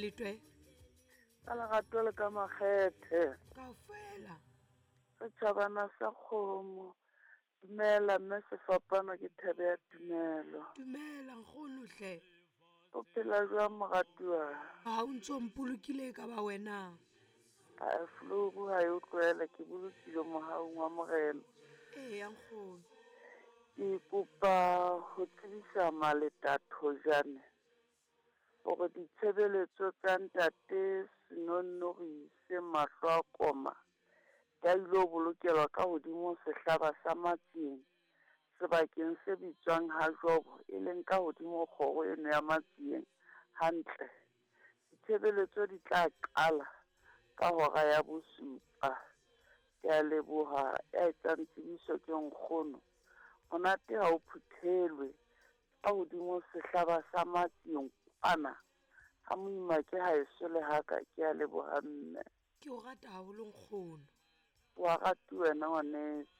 Letwe? Ka lerato le ka makgethe. Kaofela. Setjhabana sa kgomo. Dumela mme sefapano ke thebe ya tumelo. Dumela nkgono hle. O phela jwang moratuwa? Ha o ntso mpolokile e ka ba wena. A floru ha e o tlohele ke bolokile mohaung wa Morena. Eya nkgono. Ke kopa ho tsebisa Maleta Thojane hore ditshebeletso tsa ntate Senonnori se mahlo a koma di a ilo bolokelwa ka hodimo sehlaba sa Matsieng, sebakeng se bitswang ha Jobo, e leng ka hodimo kgoro eno ya Matsieng hantle. Ditshebeletso di tla qala ka hora ya bosupa. Ke a leboha, ya etsang tsebiso ke nkgono. Monate ha o phuthelwe, ka hodimo sehlaba sa Matsieng kwana. Ha moima ke haeso le haka, ke a leboha mme. Ke o rata haholo nkgono. Wa ratuwa wena ngwaneso.